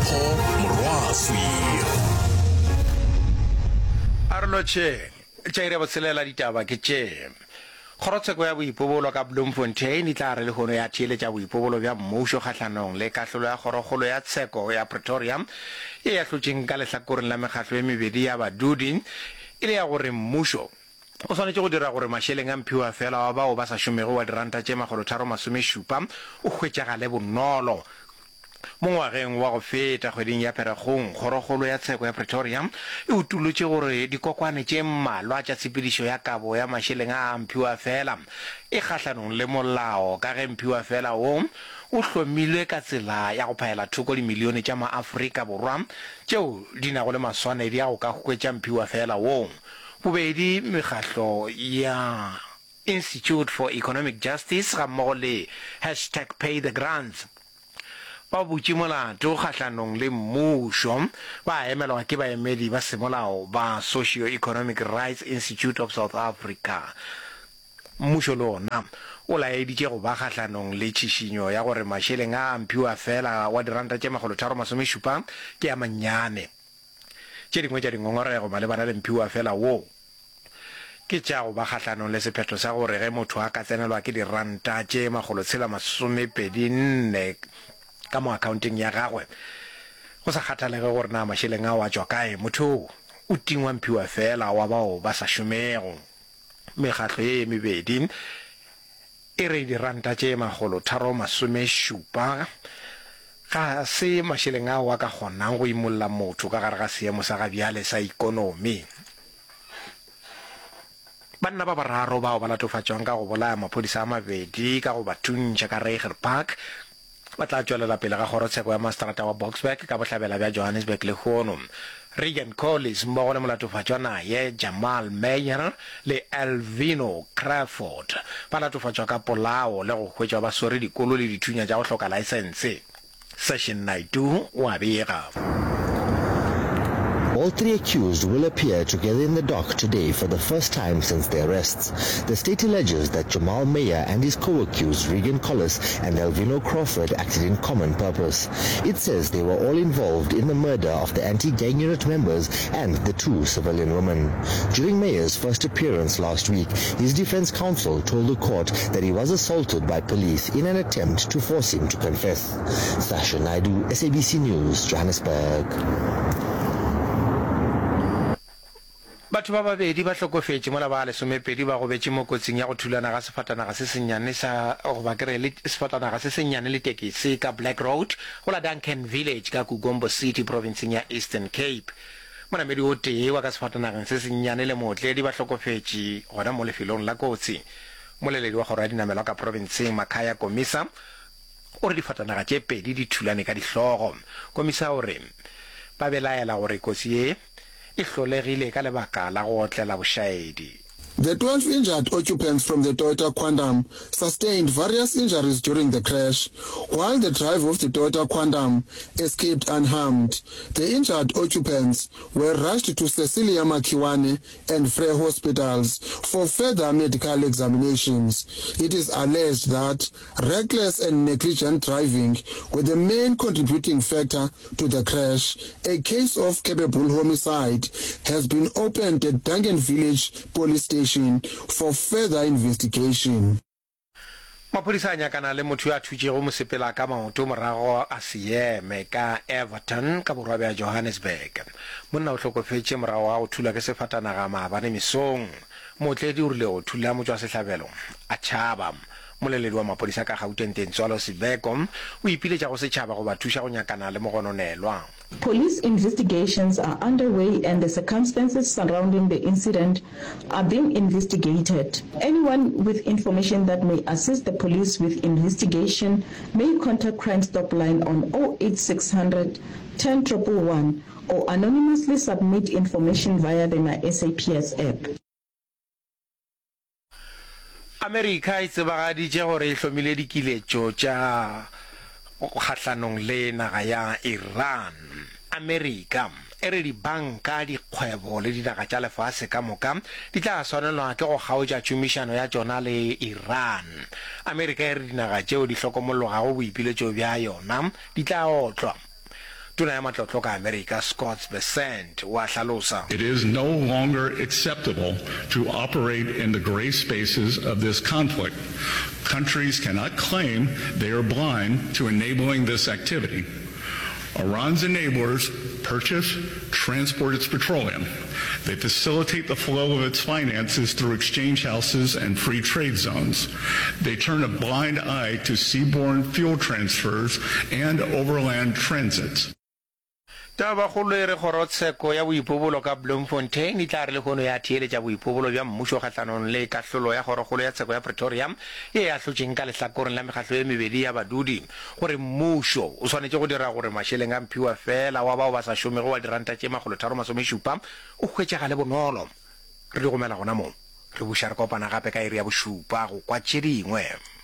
Mpho Morwaswi. A re lotšheng. Tša iri ya botshelela ditaba ke tše. Kgorotsheko ya boipobolo ka Bloemfontein e tla re lehono ya theeletša boipobolo bja mmušo kgahlanong le kahlolo ya Kgorokgolo ya Tsheko ya Pretoria ye e ahlotšeng ka lehlakoreng la mekgahlo ye mebedi ya badudi e le ya gore mmušo o swanetše go dira gore mašeleng a mphiwafela wa bao ba sa šomego wa diranta tše makgolotharo-masomešupa o hwetšagale bonolo. Mo ngwageng wa go feta kgweding ya Pherekgong, Kgorokgolo ya Tsheko ya Pretoria e utolotše gore dikokwane tše mmalwa tša tshepedišo ya kabo ya mašeleng a a mphiwafela e kgahlanong le molao ka ge mphiwafela wo o hlomilwe ka tsela ya go phaela thoko dimilione tša maAfrika Borwa tšeo di nago le maswanedi a go ka hwetša mphiwafela wo. Bobedi mekgahlo ya Institute for Economic Justice gammogo le hashtag PayTheGrants ba butše molato kgahlanong le mmušo, ba emelwa ke baemedi ba semolao ba Socio-Economic Rights Institute of South Africa. Mmušo le ona o laeditše go ba kgahlanong le tšhišinyo ya gore mašeleng a a mphiwafela wa diranta tše makgolotharo-masomešupa ke a mannyane. Tše dingwe tša dingongorego malebana le mphiwafela wo ke tša go ba kgahlanong le sephetho sa gore ge motho a ka tsenelwa ke diranta tše makgolotshela-masomepedi-nne ka mo akhaonteng ya gagwe, go sa kgathalege gore na mašeleng ao a tšwa kae, motho yoo o tingwa mphiwafela wa bao ba sa šomego. Mekgatlo ye ye mebedi E re diranta tše makgolotharo-masomešupa ga se mašeleng ao a ka kgonang go imolla motho ka gare ga seemo sa gabjale sa ikonomi. Banna ba bararo bao ba latofatšwang ka go bolaya maphodisa a mabedi ka go ba thuntšha ka Reiger Park ba tla tšwelela pele ga kgorotsheko ya maseterata wa Boksburg ka bohlabela bja Johannesburg lehono. Regan Collis mmogo le molatofatšwa naye Jamal Meyer le Elvino Crawford ba latofatšwa ka polao le go hwetšwa ba swere dikolo le dithunya tša go hloka laesense. Session Naidoo o a bega. All three accused will appear together in the dock today for the first time since their arrests. The state alleges that Jamal Meyer and his co-accused Regan Collis and Elvino Crawford acted in common purpose. It says they were all involved in the murder of the anti-gang unit members and the two civilian women. During Meyer's first appearance last week, his defense counsel told the court that he was assaulted by police in an attempt to force him to confess. Sasha Naidu, SABC News, Johannesburg. Batho ba babedi ba hlokofetše mola ba lesomepedi ba gobetše mo kotsing ya go thulana ga sefatanaga se sennyane sa goba ke re le sefatanaga se sennyane le tekesi ka Black Road go la Duncan Village ka Kugombo City profenseng ya Eastern Cape. Monamedi o tee wa ka sefatanageng se sennyane le mootledi ba hlokofetše gona mo lefelong la kotsi. Mmoleledi wa kgoro ya dinamelwa ka profenseng Makhaya Komisa O re difatanaga tše pedi di thulane ka dihlogo. Komisa o re ba belaela gore kotsi ye e hlolegile ka lebaka la go otlela bošaedi. The 12 injured occupants from the Toyota Quantum sustained various injuries during the crash, while the driver of the Toyota Quantum escaped unharmed. The injured occupants were rushed to Cecilia Makhiwane and Frere hospitals for further medical examinations. It is alleged that Reckless and negligent driving were the main contributing factor to the crash. A case of capable homicide has been opened at Duncan Village Police Station for further investigation. Maphodisa a nyakana le motho yo a thutšego mosepela ka maoto morago a se eme ka Everton ka borwa bja Johannesburg. Monna o hlokofetše morago ga go thulwa ke sefatanaga maabane mesong. Mootledi o rile go thula motšwasehlabelo a tšhaba. Mmoleledi wa maphodisa ka Gauteng Tintswalo Sibeko o ipiletša go setšhaba go ba thuša go nyakana le mogononelwa. Police investigations are underway and the circumstances surrounding the incident are being investigated. Anyone with information that may assist the police with investigation may contact Crime Stop line on 08600 10 111 or anonymously submit information via the MySAPS app. Amerika e tsebagaditše gore e hlomile dikiletšo tša kgahlanong le naga ya Iran. Amerika e re dibanka, dikgwebo le dinaga tša lefase ka moka di tla swanelwa ke go kgaotša tšhomišano ya tšona le Iran. Amerika e re dinaga tšeo di hlokomologago boipiletšo bja yona di tla otlwa. Tona ya Matlotlo ka Amerika, Scott Bessent, o a hlalosa. It is no longer acceptable to operate in the gray spaces of this conflict. Countries cannot claim they are blind to enabling this activity. Iran's enablers purchase, transport its petroleum. They facilitate the flow of its finances through exchange houses and free trade zones. They turn a blind eye to seaborne fuel transfers and overland transits. Tabakgolo e re kgorotsheko ya boipobolo ka Bloemfontein e tla re lehono ya theeletša boipobolo bja mmušo kgahlanong le kahlolo ya Kgorokgolo ya Tsheko ya Pretoria ye e ahlotšeng ka lehlakoreng la mekgahlo ye mebedi ya badudi gore mmušo o swanetše go dira gore mašeleng a mphiwa feela wa bao ba sa šomego wa diranta tše makgolotharomasomešupa o hwetšagale bonolo. Re di gomela gona mo. Re buša re kopana gape ka iri ya bošupa go kwa tše dingwe.